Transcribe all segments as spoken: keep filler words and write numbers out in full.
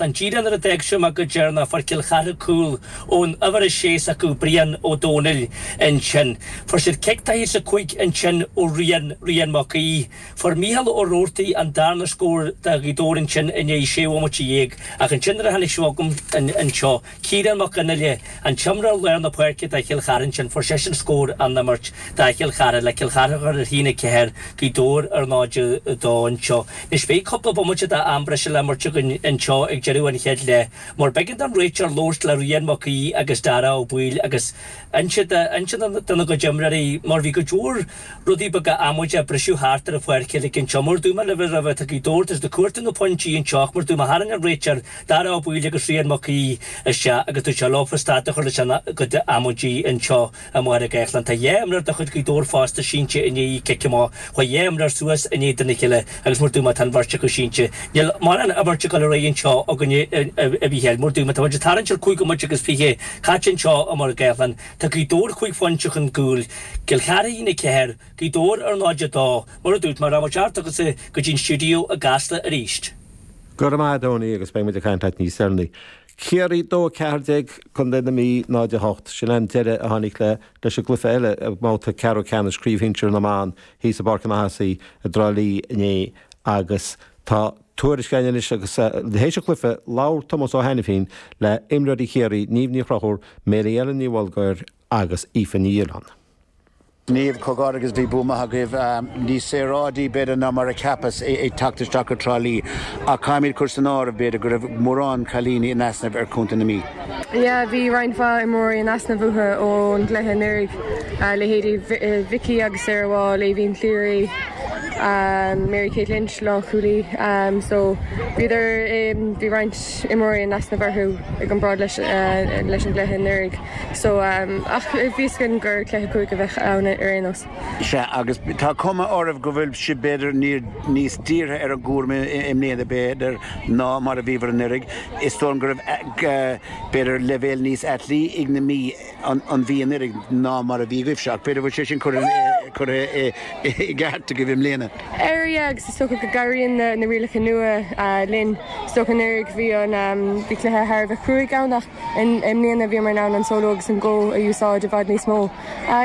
Ghaeltlann. Díreach nuair a d'fhág sibh mé go deireanach fuair Cill Chartha cúl ón uimhir a sé s'acu Brian Ó Dónaill ansin. Fuair siad cic taithí sa cúig ansin ó Rian Rian Mac Aoidh. Fuair Mícheál Ó Roarty an darna scór do Ghaoth Dobhair ansin i ndiaidh sé bhomaite dhéag ach ansin nuair a tháinig sibh chugam anseo, Ciarán Mac Fhionnghaile, an t-imreoir lár na páirce do Chill Chartha ansin, fuair seisean scór an imirt do Chill Chartha le Cill Chartha a chur ar haon a ceathair, Gaoth Dobhair ar náid a dó anseo. Anois beidh cúpla bomaite d'am breise le imirt againn anseo ag deireadh an chéad leath mar b'éigean don réiteoir labhairt le Rian Mac Aoidh agus Dara Ó Baoill agus inse dona gcuid imreoirí mar bhí cuid mhór rudaí beaga amaideacha ag briseadh thart ar an pháirc uilig anseo. Mar a dúirt mé libh roimhe, tá Gaoth Dobhair tar éis cuartú na pointí anseo ach mar a dúirt mé tharraing an réiteoir Dara Ó Baoill agus Rian Mac Aoidh isteach agus dúirt sé leofa stad a chur leis an gcuid amaidí anseo i Machaire Gathlán. Tá dhá imreoir de chuid Ghaoth Dobhair fosta sínte i ndiaidh cic amach. Chuaigh dhá imreoir suas in éadan a chéile agus mar a dúirt mé tá an bheirt acu sínte. Níl mórán imirt ag dul ar aghaidh anseo againne a Mhícheáil. Mar a dúirt mé tá muid ag tarraingt ar cúig bhomaite agus fiche caite anseo i Machaire Gathlán. Tá Gaoth Dobhair cúig phointe chun cúil, Cill Chartha a haon a ceathair, Gaoth Dobhair ar náid a dó. Mar a dúirt mé, rachaidh muid thart agatsa go dtí an stiúideo i gCasla arís. Go raibh maith agat, Tony, agus beidh muid ag caint leat níos deireanaí. Ciarraí dó a ceathair déag, Contae na Mí náid a hocht. Sin an deireadh a tháinig le leis an gcluiche eile i mbabhta ceathrú ceannais Craobh Shinsir na mBan thíos i bPáirc an Athásí i dTrá Lí inné agus tá tuairisc againn anois agus théis an chluiche labhair Tomás Ó hAiniféin le imreoirí Chiarraí, Niamh Ní Chonchúir, Mary Ellen Ní Bhulgair agus Aoife Ní Fhialáin. Niamh, comhghairdeas agus bhí bua maith agaibh. Níos saoráidí b'fhéidir ná mar a cheapas ag teacht isteach go Trá Lí ach caithfimid cur san áireamh b'fhéidir go raibh mórán cailíní in easnamh ar Chontae na Mí. Yeah, bhí roinnt mhaith imreoirí in easnamh uathu ón gcluiche anuraidh, leithéidí Vicky agus Sarah Wall, Aoibhín Cleary, Mary Kate Lynch, lánchúlaí. So bhíodar, bhí roinnt imreoirí in easnamh orthu i gcomparáid leis leis an gcluiche anuraidh. So ach bhí fhios againn gur cluiche cúig a bheadh ann ar aon nós. Sea, agus tá cuma oraibh go bhfuil sibh b'fhéidir níos dírithe ar an gcúram i mbliana b'fhéidir ná mar a bhíobhair anuraidh. Is dóigh liom go raibh b'fhéidir leibhéal níos atlí ag na Mí an Mhí anuraidh ná mar a bhí agaibhse ach b'fhéidir go bhfuil sé sin curtha i gceart agaibh i mbliana. Ar yeah, agus is dócha go gcabhraíonn na rialacha nua linn. Is dócha anuraidh bhí an bhí cluiche thar a bheith cruaidh ann ach I mbliana bhíomar in ann an solo agus an go a úsáid i bhfad níos mó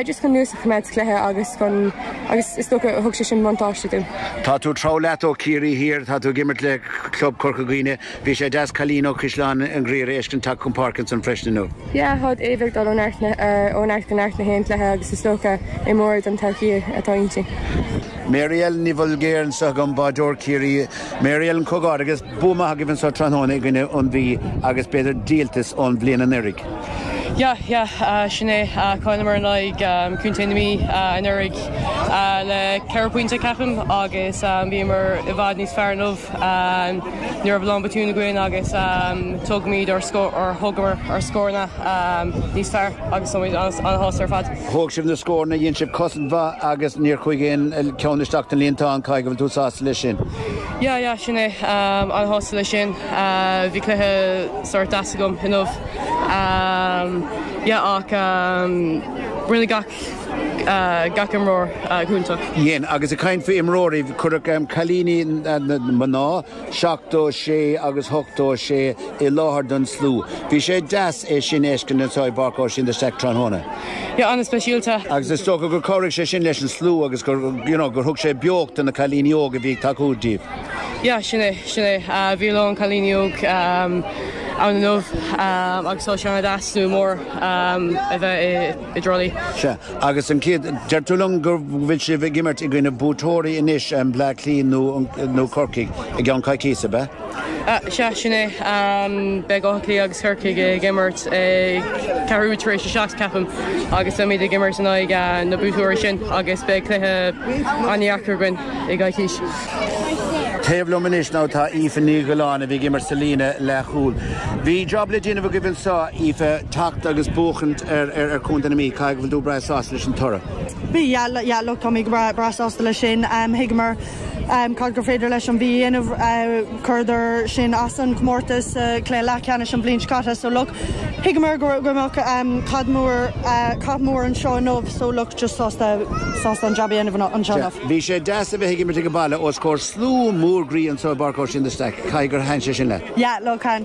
just chun luas a choimeád sa chluiche agus chun agus is dócha thug sé sin buntáiste dúinn. Tá tú treabhadh leat ó Chiarraí Thiar, tá tú ag imirt le club Corca Dhuibhne. Bhí sé deas cailín ó Chaisleán an Ghriaire a fheiscint teacht chun páirce ansan freisin inniu. Yeah, tá Ava ag dul ó neart ó neart go neart na haon chluiche agus is dócha imreoir don todhchaí atá inti. Mary Ellen Ní Bhulgair anseo agam, báideoir Chiarraí. Mary Ellen, comhghairdeas. Bua maith agaibh anseo tráthnóna i gcoinne an Mhí agus b'fhéidir díoltas ón bhliain anuraidh. Yeah, yeah, sin é. Chailleamar in aghaidh Contae na Mí anuraidh le ceithre pointe ceapaim agus bhíomar i bhfad níos fearr inniu. Ní raibh a lán botún againn agus tógaimid ár scór, thógamar ár scóranna níos fearr agus táimid an-sásta ar fad. Thóg sibh na scóranna, dhein sibh cosaint mhaith agus níor chuaigh aon cheann isteach den líontán, caithfidh go bhfuil tú sásta leis sin? Yeah, yeah, sin é. An-shásta leis sin. Bhí cluiche sórt deas agam inniu. Yeah, ach rinne gach gach imreoir go hiontach. Dhein. Agus ag caint faoi imreoirí, cuireadh cailíní na mná, seachtó sé agus ochtó sé, i láthair don slua. Bhí sé deas é sin a fheiscint anseo i bPáirc Oisín de Staic tráthnóna. Yeah, an-speisialta. Agus is dócha gur chabhraigh sé sin leis an slua agus gur, you know, gur thug sé beocht do na cailíní óga a bhí ag tacú díobh. Yeah, sin é, sin é. Bhí a lán cailíní óg ann inniu agus tá sé an-deas slua mór a bheith i dTrá Lí. Sea, agus an chéad, deir tú liom go bhfuil sibh ag imirt i gcoinne buaiteoirí anois, Bleá Cliath nó, nó Corcaigh, i gceann coicíse, ab ea? Sea, sin é. Beidh Áth Cliath agus Corcaigh ag imirt ag ceathrú tar éis a seacht, ceapaim, agus beimid ag imirt in aghaidh na buaiteoirí sin agus beidh cluiche an-deacair againn i gcoicís. Taobh liom anois now tá Aoife Ní Ghiolláin a bhí ag imirt sa líne leathchúil. Bhí job le déanamh agaibh anseo, Aoife, teacht agus buachaint ar ar Chontae na Mí. Caithfidh go bhfuil tú breá sásta leis an toradh. Bhí, yeah, yeah, look, tá mé breá breá sásta leis sin. Thuigeamar cad gur féidir leis an Mhí a dhéanamh. Chuireadar sinn as an chomórtas sa chluiche leathcheannais an bhliain seo caite so look thuigeamar go mbeadh cath mór cath mór anseo inniu so look just sásta sásta an jab a dhéanamh anseo inniu. Bhí sé deas a bheith ag imirt ag an baile os comhair slua mór groí anseo i bPáirc Oisín de Staic. Caithfidh gur thaitin sé sin leat. Yeah look